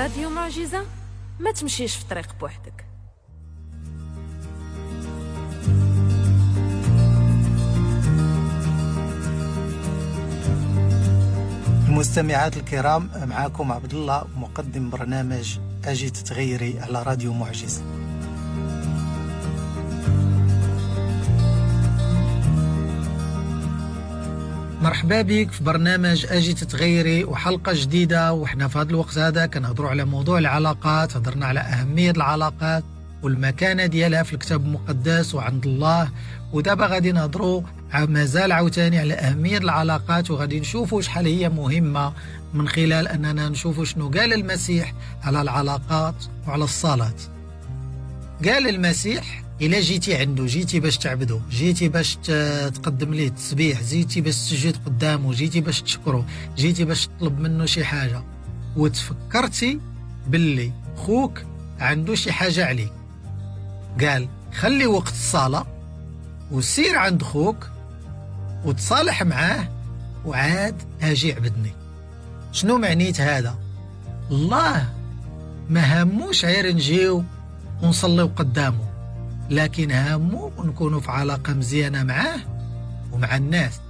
راديو معجزة، ما تمشيش في طريق بوحدك. المستمعات الكرام، معاكم عبد الله مقدم برنامج أجي تتغيري على راديو معجزة. مرحبا بك في برنامج أجي تتغيري وحلقة جديدة. وحنا في هذا الوقت هذا كنهضروا على موضوع العلاقات، هضرنا على أهمية العلاقات والمكانة ديالها في الكتاب المقدس وعند الله، ودابا غادي نهضروا مازال عاوتاني على أهمية العلاقات، وغادي نشوفوا شحال هي مهمة من خلال أننا نشوفوا شنو قال المسيح على العلاقات وعلى الصلاة. قال المسيح إلا جيتي عنده، جيتي باش تعبده، جيتي باش تقدم ليه التسبيح، جيتي باش تسجد قدامه، جيتي باش تشكره، جيتي باش تطلب منه شي حاجة، وتفكرتي باللي خوك عنده شي حاجة عليك، قال خلي وقت الصلاة وسير عند خوك وتصالح معاه وعاد اجي عبدني. شنو معنيت هذا؟ الله ما هموش غير نجيو ونصليو قدامه، لكن هامو نكونوا في علاقة مزيانة معاه ومع الناس،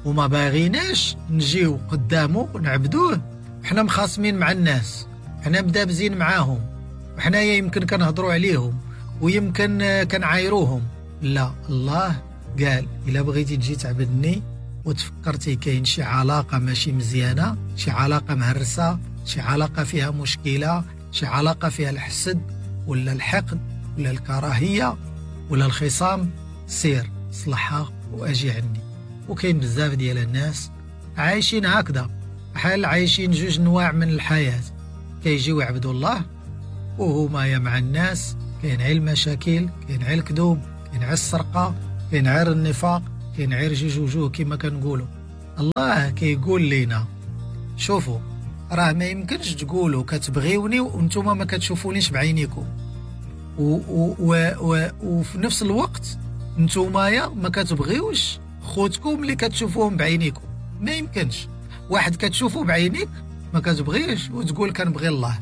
وما باغيناش نجيو قدامه ونعبدوه وحنا مخاصمين مع الناس، حنا مدابزين معاهم، وحنا يمكن كنهضروا عليهم ويمكن كنعايروهم. لا، الله قال إلا بغيتي تجي تعبدني وتفكرتي كاين شي علاقة ماشي مزيانة، شي علاقة مهرسة، شي علاقة فيها مشكلة، شي علاقة فيها الحسد ولا الحقد ولا الكراهية ولا الخصام، سير صلحها وأجي عندي. وكاين بزاف ديال الناس عايشين هكذا، بحال عايشين جوج نواع من الحياة، كيجيو يعبدوا الله وهما يا مع الناس، كاين غير المشاكل، كاين غير الكذوب، كاين غير السرقة، كاين غير النفاق، كاين غير جوج وجوه كما كنقولوا. الله كيقول لنا شوفوا، راه ما يمكنش تقولوا كتبغيوني وانتم ما كتشوفونيش بعينيكم، وفي نفس الوقت نتوما ما كتبغيوش خوتكم اللي كتشوفوهم بعينيكم. ما يمكنش واحد كتشوفه بعينيك ما كتبغيش وتقول كنبغي الله.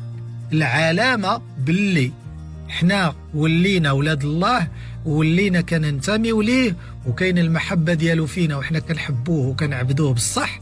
العلامة باللي حنا ولينا ولاد الله ولينا كننتميو ليه وكاين المحبة ديالو فينا وحنا كنحبوه وكنعبدوه بالصح،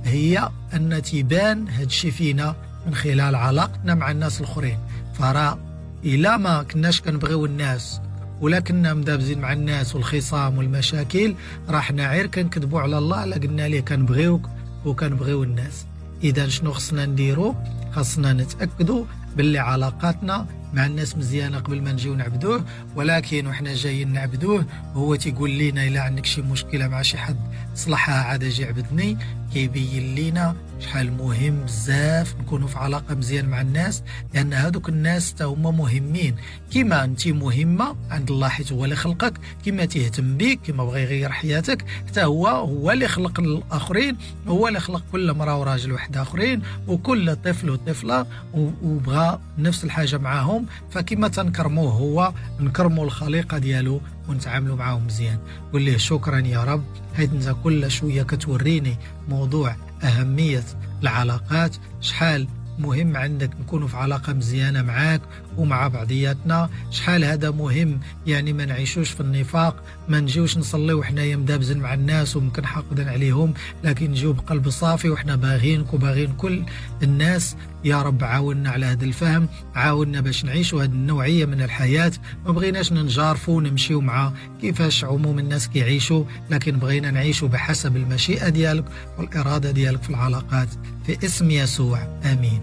هي أن تبان هادشي فينا من خلال علاقتنا مع الناس الآخرين. فرا إلا ما كناش كنبغيو الناس ولا كنا مدابزين مع الناس والخصام والمشاكل، راه حنا غير كنكذبوا على الله لا قلنا ليه كنبغيوك وكنبغيو الناس. إذا شنو خصنا نديرو؟ خصنا نتأكدوا باللي علاقاتنا مع الناس مزيانة قبل ما نجيو نعبدوه. ولكن وحنا جايين نعبدوه هو تيقول لنا إلا عندك شي مشكلة مع شي حد صلحها عاد اجي عبدني. كيبين لنا شحال مهم بزاف نكونوا في علاقة مزيان مع الناس، لأن هادوك الناس تا هما مهمين. كما أنت مهمة عند الله حيت هو اللي خلقك، كما تهتم بك، كما بغى يغير حياتك، حتى هو اللي خلق الآخرين، هو اللي خلق كل مرأة وراجل واحد آخرين وكل طفل وطفلة، وبغى نفس الحاجة معاهم. فكما تنكرموه هو نكرموا الخليقة ديالو ونتعاملوا معاهم مزيان. قول ليه شكرا يا رب، حيت انت كل شوية كتوريني موضوع أهمية العلاقات، شحال مهم عندك نكونوا في علاقة مزيانة معاك ومع بعضياتنا، شحال هذا مهم. يعني ما نعيشوش في النفاق، ما نجيوش نصليو وحنايا مدابزين مع الناس وممكن حاقدين عليهم، لكن نجيو بقلب صافي وحنا باغينك وباغين كل الناس. يا رب عاوننا على هذا الفهم، عاوننا باش نعيشوا هذه النوعية من الحياة. ما بغيناش ننجارفوا ونمشيو مع كيفاش عموم الناس كيعيشوا، لكن بغينا نعيشوا بحسب المشيئة ديالك والإرادة ديالك في العلاقات، في اسم يسوع، آمين.